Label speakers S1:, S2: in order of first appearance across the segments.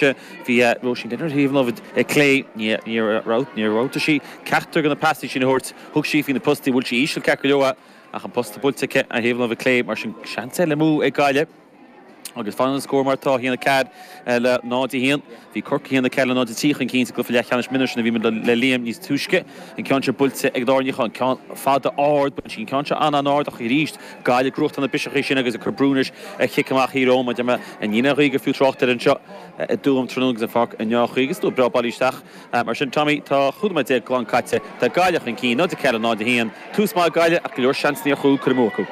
S1: Bhí Róisín Denvir ar thaobh na láimhe clé. Níor roghnaigh sí ceachtar de na pasanna sin a thabhairt. Thug sí faoi na postaí. Bhuail sí íseal ceart go leor ach an posta buailte aici ar thaobh na láimhe clé. Mar sin, seans eile amú ag Gaillimh. Agus fanann an scór mar atá, 1-4 le 0-1. Bhí Corcaigh 1-4 le 0-3 chun cinn sa gcluiche leathcheannais mionúir sin a bhí muid le Liam níos túisce. An ceann seo buailte ag Dáire Ní Chatháin. Ceann fada ard. Baineann sí an ceann seo an-an-ard ach arís Gaillimh ag gnóthachtáil na biseacha sin agus ag cur brú anois ar chic amach Thír Eoghain. Mar a deir mé, níl aon ghaoth gur fiú trácht air anseo i dTuaim tráthnóna agus an pháirc i ndea-chaoi agus slua breá bailithe isteach. Mar sin, Tommy, tá 15 nóiméad glan caite. Tá Gaillimh chun cinn, 0-4, 0-1. Tús maith ag Gaillimh ach go leor seansanna ar chúl curtha amú acu.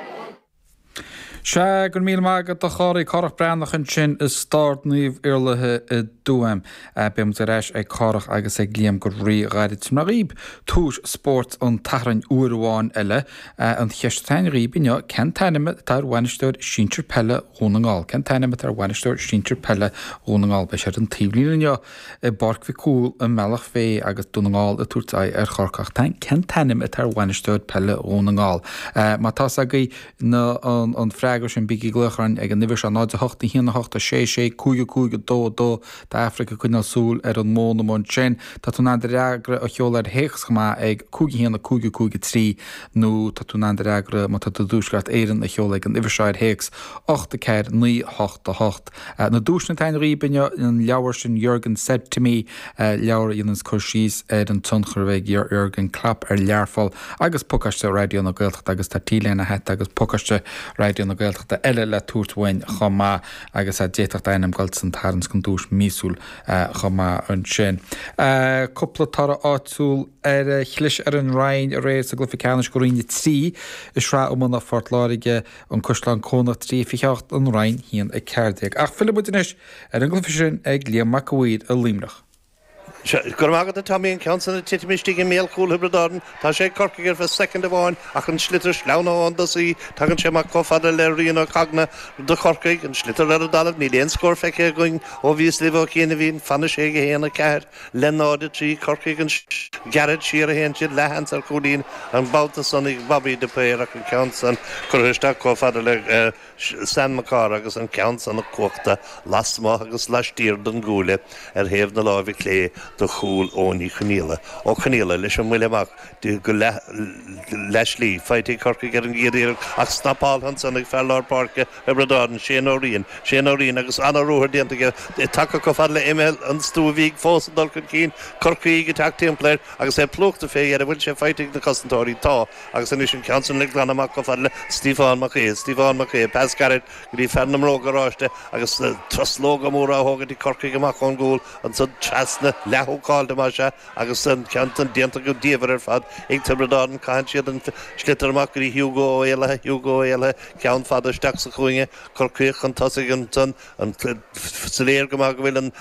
S2: Sea, go raibh míle maith agat a Chárthaigh, Cárthach Breathnach ansin i Stord Naomh Iarlaithe i dTuaim. Beidh muid ar ais ag Cárthach agus ag Liam go rí-ghairid. Tabharfaidh mé dhaoib tomhais spóirt an tSathairn uair amháin eile. An cheist atá againn dhaoib inniu, cén t-ainm atá ar bhainisteoir sinsir peile Dhún na nGall? Cén t-ainm atá ar bhainisteoir sinsir peile Dhún na nGall? Beidh sé ar an taobhlíne inniu i bPáirc Mhic Cumhaill i mBealach Féich agus Dún na nGall ag tabhairt aghaidh ar Chorcaigh. Cén t-ainm atá ar bhainisteoir peile Dhún na nGall? Má tá 's agaibh na an freagra sin bígí ag glaoch orainn ag an uimhir seo 0 8 1 8 6 6 5 5 2 2 Tá Aifric ag coinneáil súil ar an bhfón amuigh ansin. Tá tú in ann do fhreagra a sheoladh ar théacs chomh maith ag 5 1 5 5 3 nó tá tú in ann do fhreagra má tá tú i dTuaisceart Éireann a sheoladh ag an uimhir seo ar théacs 8 4 9 8 8. Na duaiseanna atá againn dhaoib inniu, an leabhar sin Jurgen Said to Me, leabhar a dhéananns cur síos ar an tionchar a bhí ag Jurgen Klopp ar Learpholl, agus pacáiste Raidió na Gaeltachta agus tá T-léine, hata agus pacáiste Raidió na Gaeltachta eile le tabhairt uainn chomh maith agus d'fhéadfadh d'ainm dul san tarraingt don duais míosúil chomh maith ansin. Cúpla toradh áitiúil ar chlis ar an Rinn aréir sa gcluiche ceannais do Roinn 3 i Sraith Iomána Phort Láirge, An Caisleán Cónach 3 28, An Rinn 1 14. Ach fillfidh muid anois ar an gcluiche sin ag Liam Mac a' Mhaoir i Luimneach.
S3: Go raibh maith agat a Tommy, an ceann san ag titim istigh i mbéal chúl Thiobraid Árann. Tá sé ag Corcaigh ar feadh soicind amháin ach an sliotar sleamhnaithe ón dtosaí. Tagann sé amach chomh fada le Rian Ó Conghaile do Chorcaigh. An sliotar ar an dtalamh. Níl aon scór feicthe againn ó bhíos libh ó chianaibhín. Fanfaidh sé ag 1, 4 le 0, 3. Corcaigh an gairid siar a théann siad. Leathsheans ar chúilín an babhta san ag Bobby de Paor ach an ceann san curtha isteach chomh fada le Sam Mac Cárthaigh agus an ceann san cuachta lasmuigh agus laistiar den gcuaille ar thaobh na láimhe clé do chúl Eoin Uí Chonaola. Ó Conaola leis an mbuille amach go leath-slí. Faighte ag Corcaigh ar an gcéad iarracht ach snapáltha ansan ag fear lár páirce Thiobraid Árann, Shane Ó Riain. Shane Ó Riain agus ana-ruathar déanta aige. Tagtha chomh fada le imeall an Stua Bhig fós ag dul chun cinn. Corcaígh ag teacht timpeall air agus é plúchta fé dheireadh. Bhfuil sé faighte ag na cosantóirí? Tá. Agus anois an ceann san le glanadh amach chomh fada le Stiofán Mac Aodha. Stiofán Mac Aodha, pas gairid go dtí fear na mbróg oráiste agus truslóga móra á thógaint ag Corcaigh amach ón gcúl ansan trasna, leath-húcáilte más ea, agus an ceann san déanta go diamhair ar fad ag Tiobraid Árann. Caitheann siad an sliotar amach go dtí Hugo Ó Éalaithe, Hugo Ó Éalaithe, ceann fada isteach sa chúinne, Corcaíoch chun tosaigh ansan. Soiléir go maith go bhfuil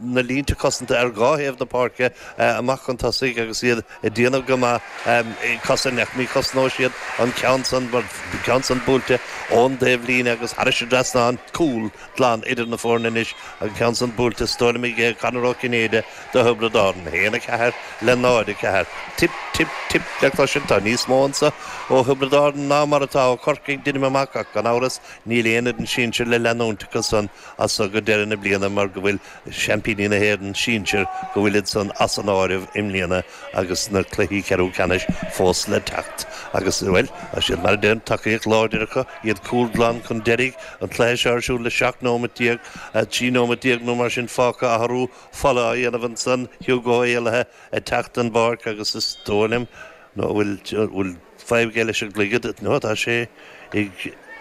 S3: na línte cosanta ar dhá thaobh na páirce amach chun tosaigh agus iad ag déanamh go maith ag cosaint ach ní chosnóidh siad an ceann san mar an ceann san buailte ón dtaobhlíne agus thairis an dtrasnán. Cúl glan idir na foirne anois, an ceann san buailte is dóigh liom ag Conor Ó Cinnéide do Thiobraid Árann. 1, 4 le 0, 4. Tip, tip, tip le cloisint. Tá níos mó anso ó Thiobraid Árann ná mar atá ó Chorcaigh, deinim amach ach gan amhras Níl aon fhoireann sinsir le leanúint acu san as so go deireadh na bliana mar go bhfuil seaimpíní na hÉireann sinsir, go bhfuilid san as an áireamh i mbliana agus na cluichí ceathrú ceannais fós le teacht. Agus, bhuel, tá siad, mar a deirim, tacaíocht láidir acu, iad cúl glan chun deiridh, an cluiche seo ar siúl le 17 nóimeat, 13 nóimeat nó mar sin fágtha, athrú fola á dhéanamh ansan, Hugo Ó Éalaithe ag teacht den bpáirc agus is dóigh liom, nó an bhfuil, fadhb aige leis an gcloigead, nó tá sé ag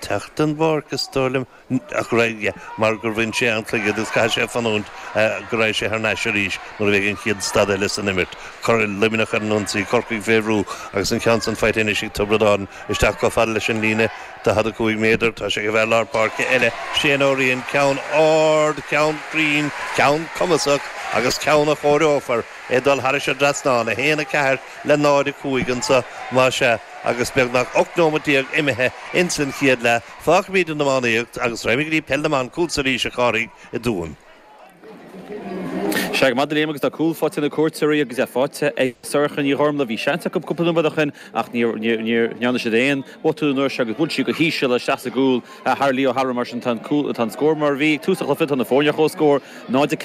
S3: teacht den bpáirc, is dóigh liom, ach yeah, mar gur bhain sé an cloigead agus caithfidh sé fanúint go raghaidh sé thar n-ais arís nuair a bheidh an chéad stad eile san imirt. Cuirfidh Luimneach ar an ionsaí, Corcaigh fé bhrú agus an ceann san faighte anois ag Tiobraid Árann isteach chomh fada leis an líne 45 méadar. Tá sé ag an bhfear lár páirce eile, Shane Ó Riain, ceann ard, ceann cruinn, ceann cumasach agus ceann a chomhaireofar é ag dul thairis an dtrasnán, 1, 4. le 0, 5 anso, más ea, agus beagnach 18 nóimeat imithe ins an chéad leath. Fágfaimid an iománaíocht agus raghaimid go dtí Peil na mBan chugatsa arís, a Chárthaigh, i dTuaim.
S1: Sea, go maith Liam agus tá cúl faighte ag na cuairteoirí agus é faighte ag Sorcha Ní Ghormlaith. Bhí seans acu cúpla nóiméad ó shin ach ní dhearna siad aon bhotún an uair seo agus bhuail sí go híseal isteach sa gcúl thar Lee O'Halloran mar sin tá an scór mar a bhí ag tús an chluiche, tá na foirne ar comhscór, 0-4.